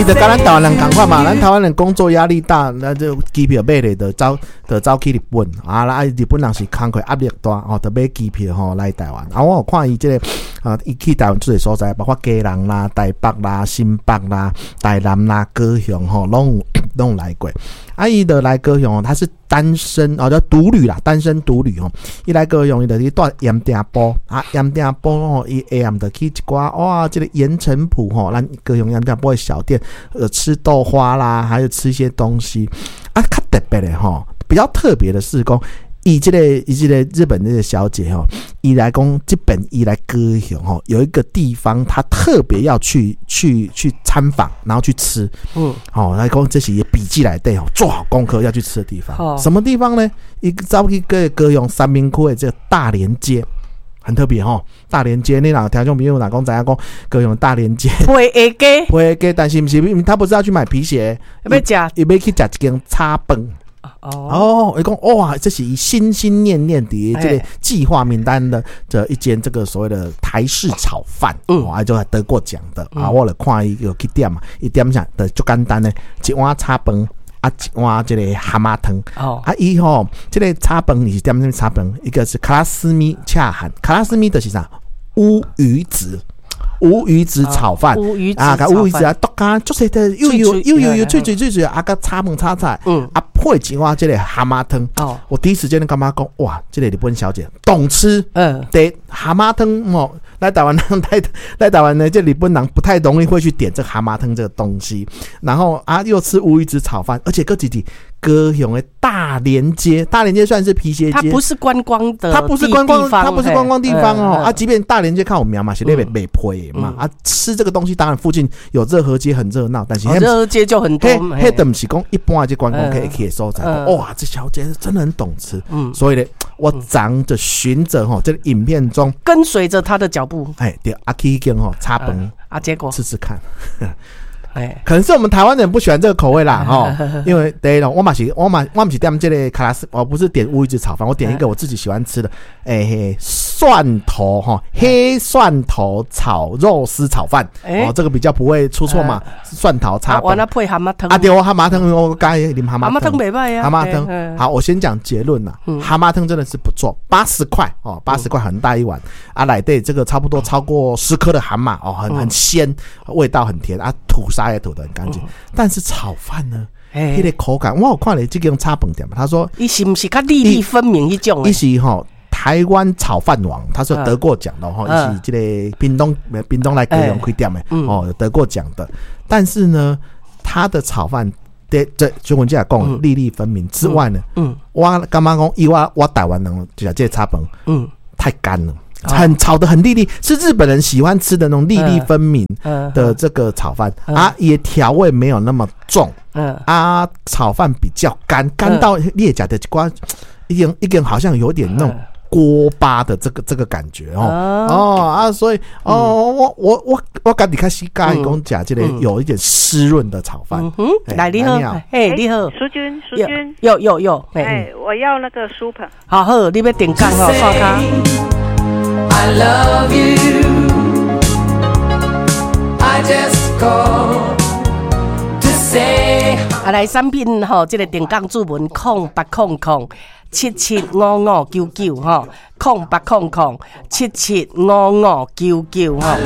伊就佮咱台灣人仝款嘛，咱台灣人工作壓力大，那就機票買咧就走，就走去日本啊！啊，日本人是工課壓力大哦，就買機票吼來台灣。啊，我有看伊這個啊，伊去台灣足濟所在，包括基隆啦、台北啦、新北啦、台南啦、高雄吼，攏有來過。啊，伊就來高雄，他是單身哦，叫獨旅啦，單身獨旅哦。伊來高雄，伊就去蹛鹽埕埔啊，鹽埕埔吼，伊下暗就去一寡哇，這個鹽埕埔吼，咱高雄鹽埕埔的小店，吃豆花啦，還有吃一些東西啊，較特別的吼，比較特別的是講，伊這個日本那個小姐吼，伊來講這邊伊來高雄吼，有一個地方，她特別要去參訪，然後去吃，好，來講這是伊筆記內底吼，做好功課要去吃的地方。什麼地方呢？伊走去個高雄三民區的這個大連街，很特別吼。大連街，你若聽眾朋友若講知影講高雄大連街，皮鞋街，皮鞋街，但是毋是，他不是要去買皮鞋，欲食，伊欲去食一間炒飯。哦，伊講哇，這是伊心心念念的這個計劃名單的這一間這個所謂的台式炒飯，哦，啊，就得過獎的啊，我來看伊有去點嘛，伊點啥就足簡單的，一碗炒飯啊，一碗這個蛤蟆湯。啊，伊吼這個炒飯伊是點啥物炒飯？一個是卡拉斯米恰漢，卡拉斯米就是啥？烏魚子。烏魚子炒飯，啊，共烏魚子啊，剁甲足細的，幼幼幼幼幼脆脆脆脆，啊，佮炒飯炒菜，啊，配一碗這個蛤蟆湯。我第一時間就感覺講，哇，這個日本小姐懂吃，對，蛤蟆湯哦，來台灣人來台灣呢，這日本人不太容易會去點這蛤蟆湯這個東西，然後啊，又吃烏魚子炒飯，而且閣一佇高雄的大連街，大連街算是皮鞋街，它不是觀光的，它不是觀光，它不是觀光地方哦。啊，即便大連街較有名嘛，是咧賣賣皮嘛。啊，吃這個東西，當然附近有熱河街很熱鬧，但是熱河街就很多，彼都毋是講一般的這觀光客會去的所在。哇，這小姐真的很懂吃，所以呢，我昨就循著吼這個影片中跟隨着他的腳步，哎，對，啊去彼間吼炒飯啊，結果吃吃看。哎，可能是我們台灣人不喜歡這個口味啦，吼，因為第一咯，我嘛是，我嘛我毋是點這個卡拉斯，我不是點烏魚子炒飯，我點一個我自己喜歡吃的，欸，蒜頭哈，黑蒜頭炒肉絲炒飯，哦，這個比較不會出錯嘛，蒜頭炒飯。我那配蛤蟆湯。啊對，我蛤蟆湯，我佮意啉蛤蟆湯。蛤蟆湯袂䆀啊。蛤蟆湯，好，我先講結論啦，蛤蟆湯真的是不錯，八十塊哦，八十塊很大一碗，啊，內底這個差不多超過10顆的蛤蟆哦，很鮮，味道很甜啊，吐沙也吐得很乾淨，但是炒飯呢？彼個口感，我有看咧這間炒飯店嘛，他說，伊是毋是較粒粒分明彼種？伊是吼台灣炒飯王，他是得過獎的吼，伊是這個屏東來高雄開店的哦，得過獎的。但是呢，他的炒飯的這就阮這講粒粒分明之外呢，我感覺講以我台灣人就食這個炒飯，太乾了。很炒得很粒粒，是日本人喜歡吃的那種粒粒分明的這個炒飯啊，也調味沒有那麼重，啊，炒飯比較乾，乾到你會食著一寡，已經好像有點那種鍋巴的這個感覺哦哦啊，所以哦，我家己較喜歡講食這個有一點濕潤的炒飯。來你好，嘿你好，淑君淑君，有有有，哎，我要那個書本。好好，你欲訂購吼，刷卡。 I love you. I just call to say. 啊，來產品吼，這個定崗注文0800775599吼，0800775599吼。